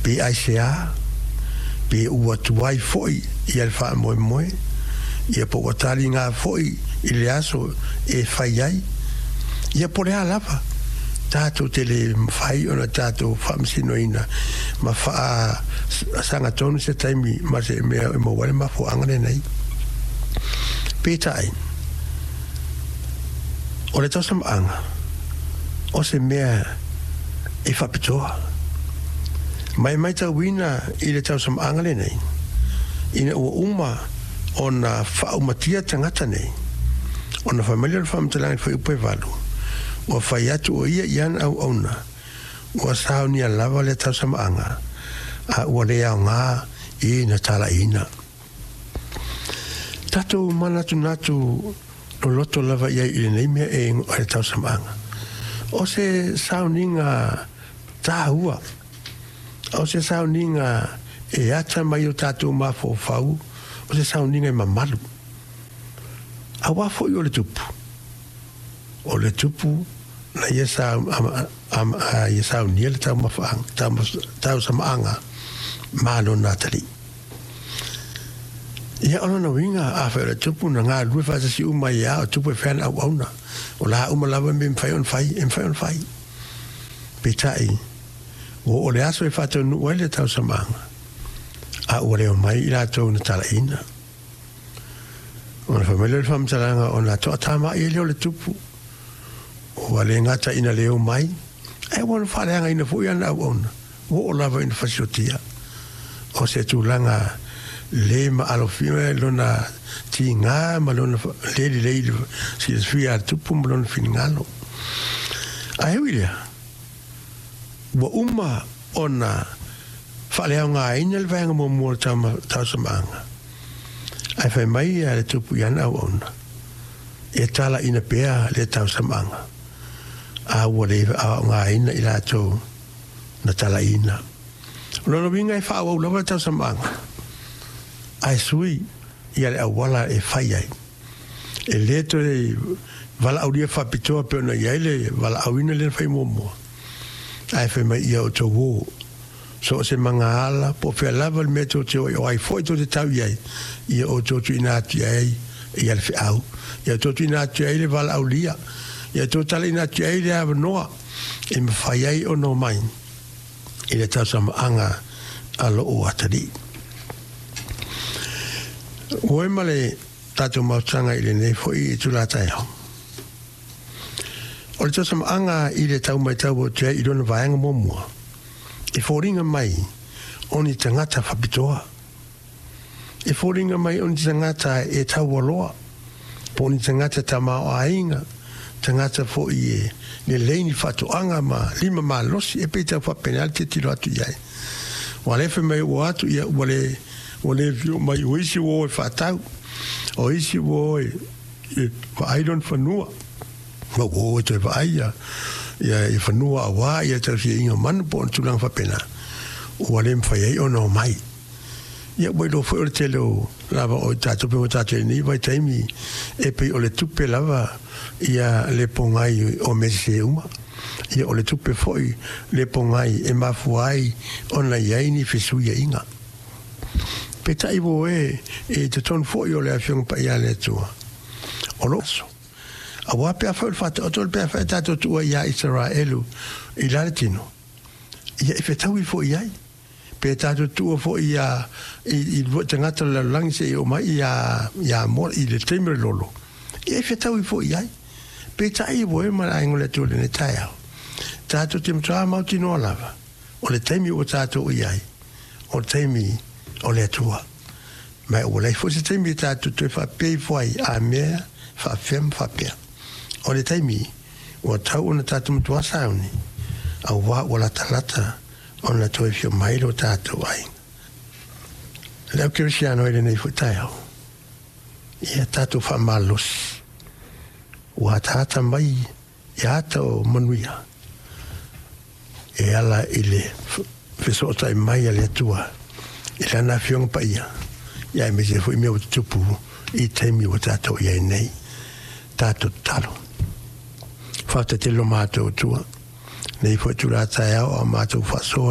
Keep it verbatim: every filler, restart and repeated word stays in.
Pe aisea, pe ua tuai foi ia le faamoemoe, ia po ua taliga foi i le aso e fai ai, ia po o le a lava, tatou te le mafai ona tatou faamasinoina ma faasagatonu se taimi ma se mea e maua ai le mafuaaga lenei. Peitai, o le tausamaaga, o se mea e faapitoa. Ma e matauina i le tausamaaga lenei, ina ua uma ona faaumatia tagata nei, ona fai mai lea o le faamatalaga i le fuaiupu e valu, ua fai atu o ia i ana auauna, ua saunia lava lea tausamaaga, a ua le aoga i na talaiina. Tatou manatunatu loloto lava i ai i lenei mea e igoa ai le tausamaaga. O se sauniga taua, o se sauniga e ata mai o tatou mafaufau, o se sauniga e mamalu. Aua foi o le tupu, o le tupu na ia saunia le tausamaaga ma lona atalii. Ia o lona uiga, afai o le tupu na galulue faatasi uma ai lava, o tupu e fai ana auauna, o la uma lava mea e mafai ona fai, e mafai ona fai. Peitai, ua oo le aso e faataunuu ai le tausamaaga, a ua le omai i latou na talaiina. Ona fai mai lea o le faamatalaga, ona toatamai ai lea o le tupu, ua le gata ina le omai, ae ua faaleagaina foi ana auauna, ua oo lava ina fasiotia. O se tulaga le maalofia lona tiga ma lona le lelei i le silafia a le tupu ma lona finagalo. Ae ui i lea, ua uma ona faaleaogaina le vaega muamua o le tausamaaga, ae fai mai le tupu i ana auauna, e talaina pea le tausamaaga, a ua le aogaina i latou na talaina. O lona uiga e faaauau lava le tausamaaga, ae sui ia le auala e fai ai. E le toe valaaulia faapitoa pei ona i ai le valaauina lea na fai muamua, ae fai mai ia outou o, so o se magaala, po o fea lava le mea tou te o ai, o ai foi tou te tau i ai, ia outou tuuina atu i ai ia le feau, ia outou tuuina atu i ai le valaaulia, ia outou talaina atu i ai le avanoa e mafai ai ona omai i le tausamaaga a lou atalii. Ua e ma le tatou mautaga i lenei foi itula taeao. O le tausamaaga i le tau matau atu ai i lona vaega muamua, e foliga mai o ni tagata faapitoa, e foliga mai o ni tagata e taualoa, po o ni tagata tamaoaiga, tagata foi e lelei ni faatoaga ma lima malosi, e pei tau faapena le tilotilo atu i ai. Ua le fai mai ua atu ia ua le ua le afio mai, o isi ua o e faatau, o isi ua o e vaai lona fanua, ma ua o e toe vaai ia ia fanua aua ia tausiaiga o manu po o tulaga faapena, ua le mafai ai ona omai. Ia ua iloa foi o le tele o lava o tatou pe ua tatou i lenei vaitaimi e pei o le tupe lava ia le pogai o mea sese uma. Ia o le tupe foi le pogai e mafua ai ona i ai ni fesuiaiga. Peitai ua e i totonu foi o le Afioga Paia a le Atua, o lo aso. Aua pe afai o le faataoto le pe afai e tatou tuua ia Isaraelu i la le tino, ia e fetaui foi i ai. Pe tatou tuua foi ia i, i lua tagata o le lalolagi seia oo mai ia, ia Amoa i le taimi o le lolo, ia e fetaui foi i ai. Peitai ua e ma le aiga o le Atua i lenei taeao, tatou te matua mautinoa lava, o le taimi ua tatou i ai, o le taimi o le Atua. Ma ua leai foi se taimi e tatou toe faapea ifo ai, a mea faapefea ma faapea. O le taimi ua tau ona tatou matua sauni, aua ua latalata ona toe afio mai lo tatou aiga. Le au kerisiano i lenei foi taeao, ia tatou faamalosi, ua ataata mai ia ata o manuia e ala i le fesootai mai a le Atua i lana Afioga Paia, ia aemaise foi mea ua tutupu i taimi ua tatou i ai nei. Tatou tatalo. Faafetai tele lo matou Atua, nei foi itula taeao a o matou faasoa.